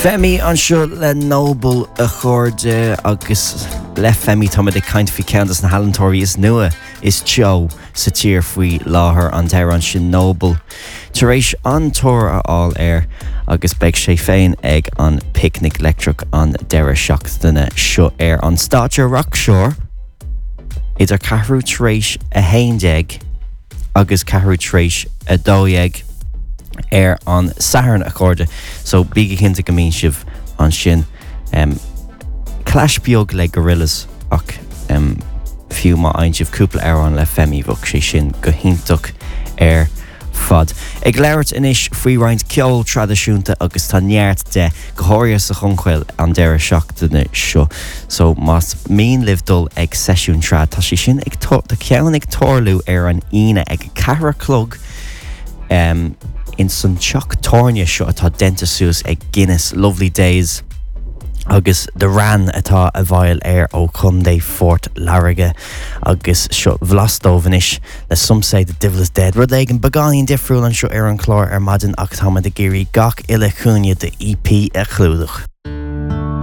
Femi anseo le Noble a chairde agus le Femi táimid ag caint faoi ceann de na healaíontóirí is nua is teo sa tír faoi láthair, an t-amhrán sin Noble tar éis an-tóir a fháil air agus beidh sé féin ag an Picnic Leictreach an deireadh seachtaine seo ar an stáitse Rockshore idir ceathrú tar éis 11 agus ceathrú tar éis 12 ar an Satharn, a chairde, so bígí cinnte go mbíonn sibh ansin. Um, clash beag le Gorillaz ach um, fiú má fhaigheann sibh cúpla amhrán le Femi bheadh sé sin go hiontach ar fad. Ag labhairt anois faoi roinnt ceol traidisiúnta agus tá neart de, go háirithe sa Chonchaill an deireadh seachtaine seo. So más mian libh dul ag seisiún trad, tá sé sin ag tá ceann ag tarlú ar an Aoine ag a ceathair a chlog um, in san teach tábhairne seo atá déanta suas ag Guinness Lovely Days agus The Wran atá i bhfeighil air ó Chontae Phort Láirge agus seo blas dóibh anois le Some Say the Divil is Dead. Rud éigin beagáinín difriúil anseo ar an chlár ar maidin ach táimid ag iarraidh gach uile chúinne de EP a chlúdach.